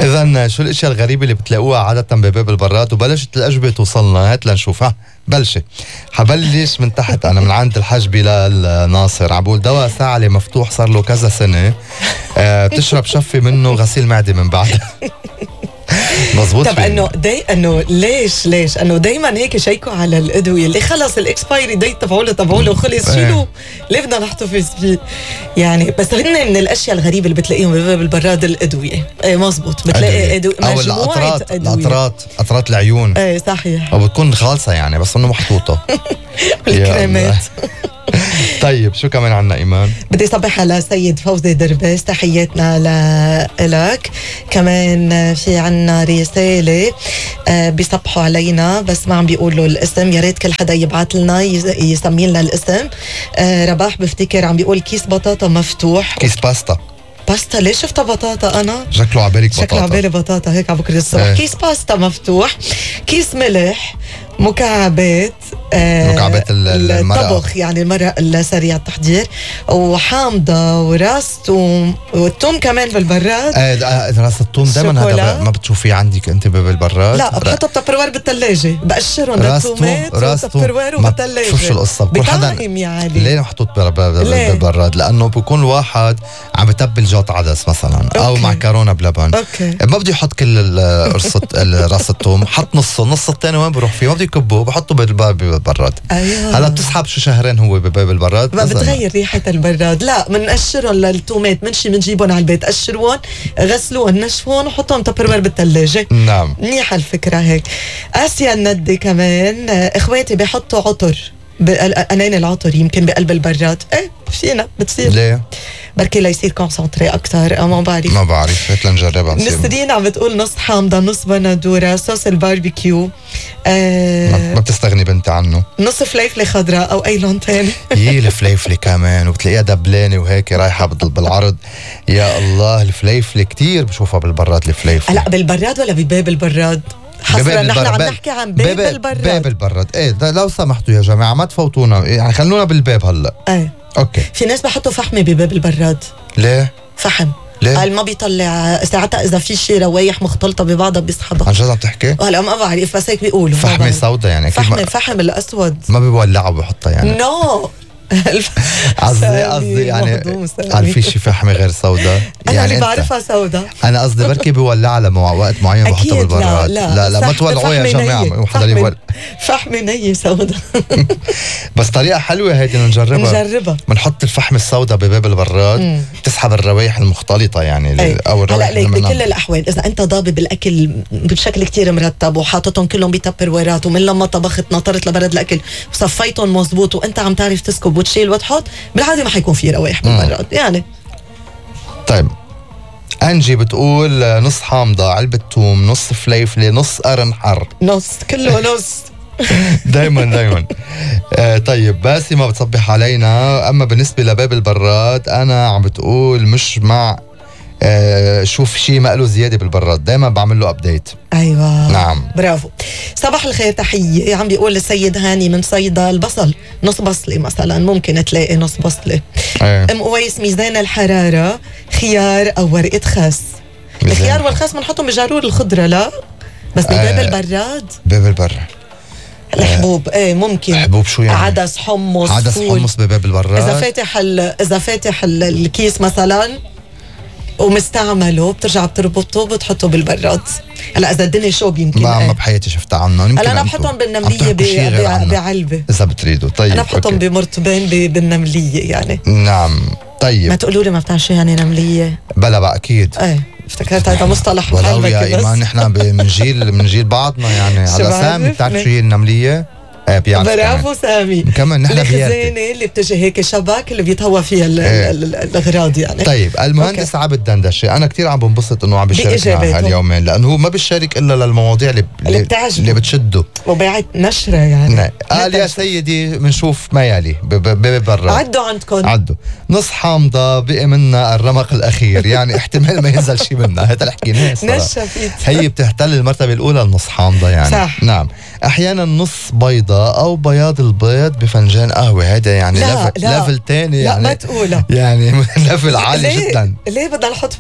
إذن شو الاشياء الغريبة اللي بتلاقوها عادة بباب البراد؟ وبلشت الأجوبة توصلنا، هات لنشوف. بلشة حبلش من تحت أنا، من عند الحاج بلال ناصر. عبول دواء ساعلي مفتوح صار له كذا سنة، بتشرب شفي منه غسيل معدة من بعد. مظبوط. طب انه ليش انه دايما هيك شيكوا على الادويه اللي خلص الاكسبايري ديت تبعوا له خلص شيلوا، ليه بدنا نحتفظ فيه يعني؟ بس هن من الاشياء الغريبه اللي بتلاقيهم بباب البراد الادويه. ايه مزبوط، بتلاقي مجموعه ادويه، قطرات العيون. ايه صحيح، او بتكون خالصه يعني بس انه محطوطه. الكريمات. طيب شو كمان عنا إيمان؟ بدي صبح على سيد فوزي دربس، تحياتنا لك. كمان في عنا رسالة بيصبحوا علينا بس ما عم بيقولوا الاسم، يا ريت كل حدا يبعث لنا يسمي لنا الاسم. رباح بفتكر عم بيقول كيس بطاطا مفتوح. كيس باستا. ليش شفتها بطاطا انا؟ شكله عبالك بطاطا. شكله عبالي بطاطا هيك على بكره الصبح. كيس باستا مفتوح، كيس ملح، مكعبات الطبخ يعني المرق السريع التحضير، وحامضة وراس توم، والثوم كمان بالبراد. راس الثوم دائما هذا ما بتشوفيه عندك انت بالبراد؟ لا بحطه بتبروير بالثلاجة، بقشرهم للثومات وبتبروير وبالثلاجة. شوف شو القصة، بطعم يعني ليه محطوط بالبراد؟ لأنه بيكون الواحد عم بتبل جوت عدس مثلا أو معكرونة بلبن. ما بدي يحط كل راس الثوم، حط نص الثاني وين بروح فيه؟ ما بدي يكبه، بحطه بالبراد. أيوة. هلا بتسحب شو شهرين هو بباب البراد، ما بتغير ريحة البراد. لا منقشرهم للثومات، منجيبهم على البيت، قشروهم، غسلوهم، نشفوهم، وحطهم تبروير بالثلاجة. نعم، منيحة الفكرة هيك. آسيا الندي كمان، اخواتي بيحطوا عطر، أنين العطر يمكن بقلب البراد. ايه فينا بتصير. ليه؟ بركي ليصير كونسنتري أكتر، أو ما بعرف. هيك لنجربها. نسرين عم بتقول نص حامضة، نص بندورة، صوص الباربيكيو. ما بتستغني بنت عنه. نص فليفلة خضراء أو أي لون تاني. الفليفلة كمان، وبتلاقيها دبلانة وهيك رايحة بالعرض. يا الله، الفليفلة كتير بشوفها بالبراد. الفليفلة لا بالبراد ولا بباب البراد؟ حصرا نحن عم نحكي عن باب البراد. ايه لو سمحتوا يا جماعة ما تفوتونا، يعني خلونا بالباب هلا. ايه اوكي. في ناس بحطوا فحمة بباب البراد. ليه؟ فحم. ليه؟ قال ما بيطلع ساعتها اذا في شي روايح مختلطة ببعضها بيصحبها. عن جد عم تحكي؟ هلا ما بعرف بس هيك بيقولوا. فحمة سوداء يعني؟ فحم الاسود ما بيولعوا بحطها يعني؟ نو قصدي يعني هل في شي فحمة غير سوداء؟ أنا يعني اللي بعرفها سوداء. أنا قصدي بركي بيولع لما وقت معين بحطها بالبراد. لا ما تولعوا يا جماعة، فحمة نية سوداء. بس طريقة حلوة هيدي نجربها. بنحط الفحمة السوداء بباب البراد، بتسحب الروايح المختلطة يعني أو الروايح. هلا بكل الأحوال إذا أنت ضابط الأكل بشكل كتير مرتب وحاططهم كلهم بتبرويرات، ومن لما طبخت نطرت لبرد الأكل وصفيتهم مزبوط وأنت عم تعرف تسكب وتشيل وتحط، بالعادة ما حيكون في روايح بالبراد يعني. طيب أنجي بتقول نص حامضة، علبة توم، نص فليفلة، نص قرن حر. نص كله نص. دايما. طيب باسمة بتصبح علينا. أما بالنسبة لباب البراد أنا عم بتقول مش مع شوف شيء مقله زيادة بالبراد، دايما بعمل له أبديت. أيوة نعم برافو. صباح الخير، تحية عم بيقول السيد هاني من صيدا البصل نص بصلة مثلا، ممكن تلاقي نص بصلة. أم قويس ميزان الحرارة، خيار أو ورقة خس. الخيار والخس بنحطهم بجارور الخضرة لا بس بباب البراد. باب البراد الحبوب ايه ممكن. حبوب شو يعني؟ عدس، حمص، حمص بباب البراد. إذا فاتح الكيس مثلا ومستعمله بترجع بتربطه بتحطه بالبراد. هلا اذا الدنيا شوب يمكن ما بحياتي شفتها عنهم. هلا انا بحطهم بالنمليه بعلبه اذا بتريدوا. طيب انا بحطهم بمرطبين بالنمليه يعني. نعم طيب. ما تقولوا لي ما بتعرفوا شو يعني نمليه؟ بلا بقى اكيد. ايه افتكرت هذا مصطلح ولو يا ايمان نحن من جيل بعضنا يعني. على سامي بتعرف شو هي النمليه؟ برافو سامي. كمان نحن الخزانه اللي بتجي هيك شبك اللي بيتهوى فيها الاغراض يعني. طيب المهندس عبد دندشه انا كثير عم بنبسط انه عم بيشارك معنا هاليومين، لانه هو ما بيشارك الا للمواضيع اللي بتشده وبعت نشره يعني. قال يا سيدي بنشوف ما يلي ببرا. عدوا عندكم عدوا نص حامضه بقي منا الرمق الاخير يعني احتمال ما ينزل شيء منها. هذا اللي حكيناه نشفت هي بتحتل المرتبه الاولى النص حامضه يعني. صح. نعم احيانا نص بيضة او بياض البيض بفنجان قهوة. هذا يعني ليفل تاني، يعني لا ما تقولها يعني ليفل عالي ليه؟ جدا. ليه بدنا نحط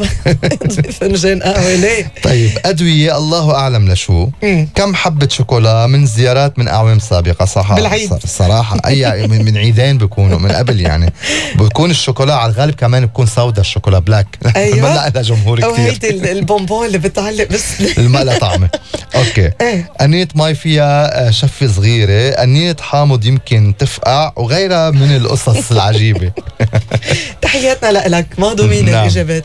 فنجان قهوة ليه؟ طيب أدوية الله أعلم لشو. كم حبة شوكولا من زيارات من أعوام سابقة صح؟ بالعيد الصراحة أي من عيدين بيكونوا من قبل، يعني بيكون الشوكولا على الغالب كمان بيكون سودا، الشوكولا بلاك. أيوة. ما لها جمهور كتير. أو هيدي البونبون اللي بتعلق بس ما لها طعمة. أوكي. أنية مي فيها شفة صغيرة، أنية حامض يمكن تفقع، وغيرها من القصص العجيبة. تحياتنا لك، ما ضمين الإجابات.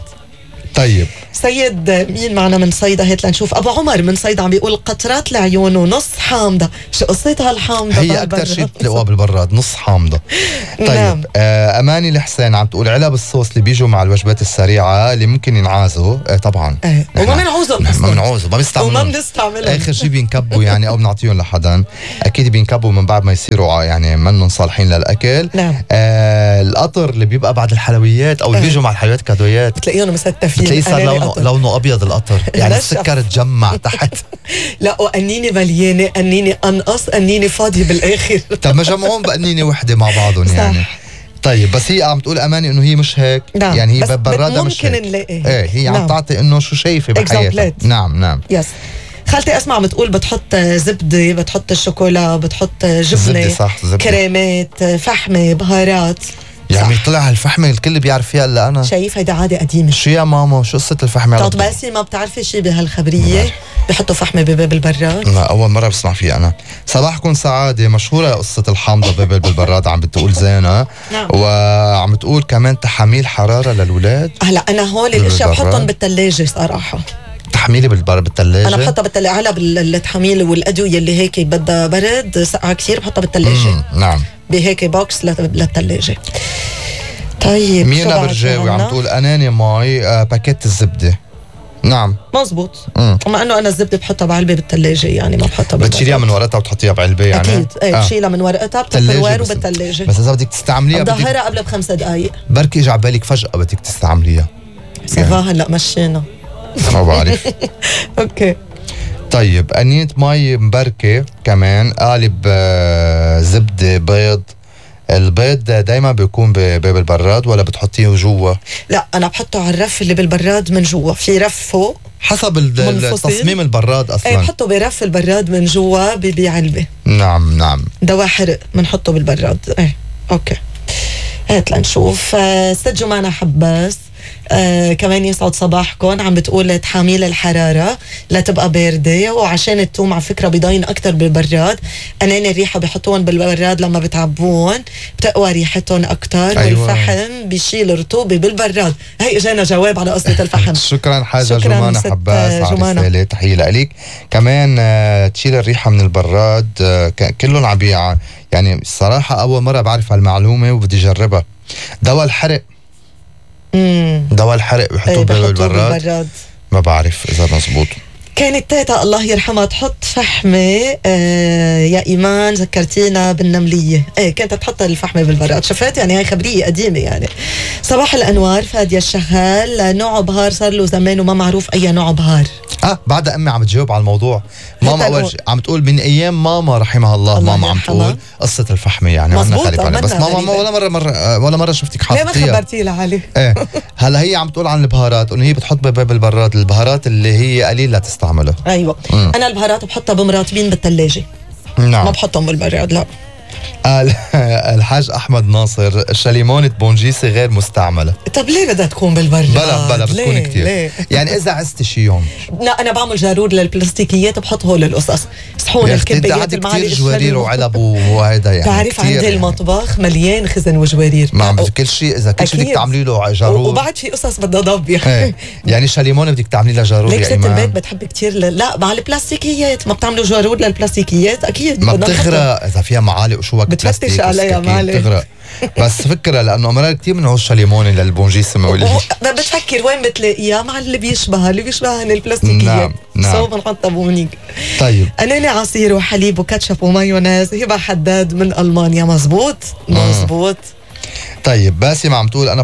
طيب سيد مين معنا من صيدا؟ هات لنشوف. ابو عمر من صيدا عم بيقول قطرات العيون ونص حامضه. شو قصتها الحامضه؟ هي اكثر شيء بتلاقوها بالبراد، نص حامضه. طيب نعم. اماني الحسين عم تقول علب الصوص اللي بيجوا مع الوجبات السريعه اللي ممكن ينعازوا. طبعا وما بنعوزهم ما بنعوزوا، ما بنستعملهم، وما بنستعملهم، اخر شيء بينكبوا يعني او بنعطيهم لحدا. اكيد بينكبوا من بعد ما يصيروا يعني منهم صالحين للاكل. نعم. القطر اللي بيبقى بعد الحلويات او اللي بيجوا مع الحلويات كادويات بتلاقيهم مستفين، بتلاقيه صار لونه ابيض القطر، يعني السكر تجمع تحت. لا وقنيني مليانه، قنيني انقص، قنيني فاضي بالاخر. طب ما جمعون بقنينه وحده مع بعضهم يعني. طيب بس هي عم تقول اماني انه هي مش هيك. نعم. يعني هي براده مش هيك. ممكن نلاقي هي عم تعطي انه شو شايفه بحياتها. نعم يس. خالتي اسمع بتقول بتحط زبده، بتحط الشوكولا، بتحط جبنه، صح، كريمات، فحمه، بهارات. يعني طلع الفحمه الكل بيعرف فيها الا انا. شايف هيدا عاده قديمه. شو يا ماما شو قصه الفحمه؟ طب باسي ما بتعرفي شيء بهالخبريه؟ بحطوا فحمه بباب البراد؟ لا اول مره بسمع فيها انا. صباحكم سعاده. مشهوره قصه الحامضه بباب البراد عم بتقول زينه. نعم. وعم تقول كمان تحاميل حراره للولاد. هلا انا هول الاشياء بحطهم بالثلاجه صراحه. تحميلي بالثلاجه؟ انا بحطها بالثلاجه على التحاميل والادويه اللي هيك بدها برد ساقعه كثير بحطها بالثلاجه. نعم. بهيك بوكس للثلاجه. طيب مينا برجاوي عم تقول اناني ماي باكيت الزبده. نعم مزبوط. مع انه انا الزبده بحطها بعلبه بالثلاجه، يعني ما بحطها بتشيليها من ورقتها وتحطيها بعلبه يعني. اكيد بتشيلها من ورقتها بتبروير وبالثلاجه. بس اذا بدك تستعمليها بظهرها قبل ب5 دقائق. بركي اجى على بالك فجاه بدك تستعمليها. سافا هلا مشينا. ما بعرف. اوكي. طيب أنية مي مبركه كمان، قالب زبده، بيض. البيض دايما بيكون بباب البراد ولا بتحطيه جوا؟ لا انا بحطه على الرف اللي بالبراد من جوا، في رف فوق حسب تصميم البراد اصلا. بحطه برف البراد من جوا بعلبه. نعم. دواء حرق بنحطه بالبراد. اوكي. هات لنشوف. ست جمانة حباس كمان يسعد صباحكم، عم بتقول تحاميل الحرارة لا تبقى باردة، وعشان التوم على فكرة بيضاين أكتر بالبراد. أناني الريحة بيحطوهم بالبراد لما بتعبون بتقوى ريحتهم أكتر. أيوة. والفحم بيشيل رطوبة بالبراد. هي اجانا جواب على قصة الفحم. شكرا حاجة جمانة حباس على الرسالة، تحية لك. كمان تشيل الريحة من البراد. كلهم عم يعني الصراحة أول مرة بعرف هالمعلومة وبدي جربها. دواء الحرق. دواء الحرق بحطوه بالبراد. ما بعرف إذا مزبوط. كانت تيتا الله يرحمها تحط فحمة يا إيمان، ذكرتينا بالنملية. كانت تحط الفحمة بالبراد. شفت يعني هاي خبرية قديمة يعني. صباح الأنوار فادية الشغال. نوع بهار صار له زمان وما معروف أي نوع بهار. بعد أمي عم تجاوب على الموضوع. ماما أول شيء عم تقول من أيام ماما رحمها الله ماما عم تقول قصة الفحمة يعني مزبوط. بس ماما ولا مرة شفتك حاطتيها. ليه ما خبرتي لها علي؟ هلا هي عم تقول عن البهارات انه هي بتحط بباب البراد البهارات اللي هي قليل لا تستعملها. ايوه. انا البهارات بحطها بمرطبين بالثلاجه. نعم. ما بحطهم بالبراد لا. الحاج احمد ناصر الشليمونة بونجيسي غير مستعمله. طب ليه بدها تكون بالبراد؟ بلا بتكون كتير. يعني اذا عزت شي يوم. لا انا بعمل جارور للبلاستيكيات بحط هول القصص، صحون الكبايات المعالق كتير جوارير وعلب وهيدا يعني. بعرف عندي المطبخ مليان خزن وجوارير. ما عم كل شيء اذا كل شيء بدك تعملي له جارور. وبعد في قصص بدها ضب يعني شليمونة بدك تعملي لها جارور. ليك ست البيت بتحب كتير لا مع البلاستيكيات ما بتعملوا جارور للبلاستيكيات اكيد ما بتغرق اذا فيها معالق وشوك بتفتش عليها معلش. بس فكرة لأنه أمرار كتير من عوش شليمونة للبونجيسي بتفكر وين بتلاقيها مع اللي بيشبهها البلاستيكيات. نعم. بنحطها بونيك. طيب أناني عصير وحليب وكاتشب ومايونيز. هبة حداد من ألمانيا. مزبوط. طيب باسم عم تقول أنا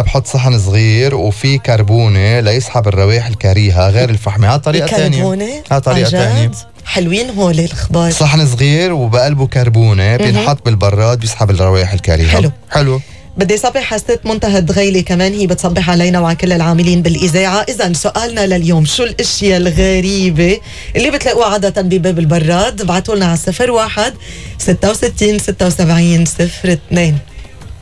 بحط صحن صغير وفي كربونة ليسحب الروائح الكريهة غير الفحمة. ها طريقة ثانية. حلوين هول الخبار. صحن صغير وبقلبه كربونه بينحط بالبراد بيسحب الروائح الكريهه. حلو. بدي صبح حسيت منتهى الدغيلي كمان، هي بتصبح علينا وعلى كل العاملين بالإذاعة. إذن سؤالنا لليوم، شو الأشياء الغريبة اللي بتلاقوها عادة بباب البراد؟ ابعتوا لنا على 01 66 76 02.